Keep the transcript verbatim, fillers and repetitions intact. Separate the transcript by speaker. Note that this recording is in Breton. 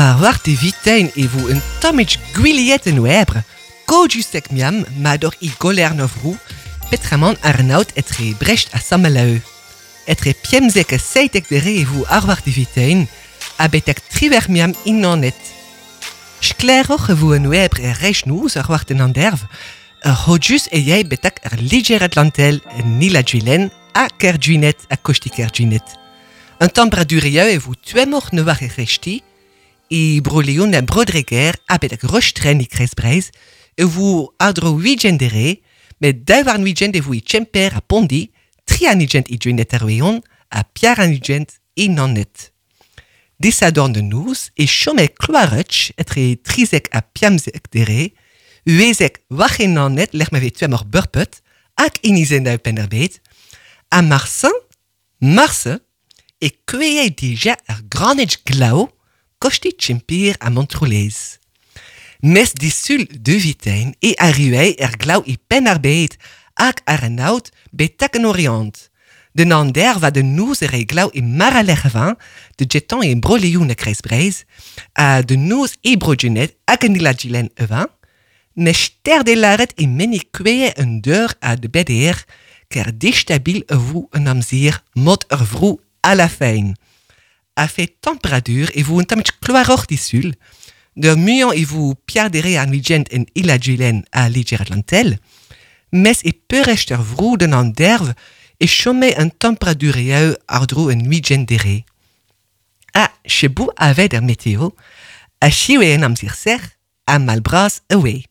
Speaker 1: Ar war de vitein e vo un tammig gwiliet en oebre, kojusek miam ma dor i goler no vrou, petramant ar naot etre Brest a Sameleu. Etre piemzek a seitek dere e vo ar war de vitein, a betek triver miam innanet. Skleroc'h e vo en oebre er reich noz ar war den anderv, ur hojus e yei betak ar Liger Atlantel en Nila Juilen a Kerjuinet a Kosti Kerjuinet. Un temperature e vo tuemoc'h ne war e rechti, e bro-Leon a bro-Dreger a betak rostren e Kreiz-Breiz, e vo adro huigent dere, met daou war huigent e vo e Txemper a Pondi, tri an ugent e Juinet ar weon, a piar an ugent e Nannet. Disadorn de noz e chome kloaretch etre trizek a piamzek dere, uezek war en Nannet lec'h ma vez tuemoc'h beurpet, hag inizen da penn ar bed, a marsin, marse, e kueie dija ar granej glao, kosti Txemper a Montroulez. Mes disul de vitein e arriuei er glao e penn ar bed, hag ar an aout betak an Orient. De nander va de noz er e glao e maralec'h de jeton e bro-Leon a Kreiz-Breiz, a de noz e bro-Junet hag an ila-gilen evan, mes ster de laret e meni kueie un deur a de beder, ker distabil e vo un amzer mod ur vrou a la fein. A fait temperature e vo un tammig kloaroc'h disul, de muiañ e vo piardere an vigent en ila-gilen a Liger Atlantel, mes e peurecht ur vrou den an derv e chome un temperature eo ar dro un huigent dere. A chebou avet er meteo, a chiwe en amzer ser, a malbras away.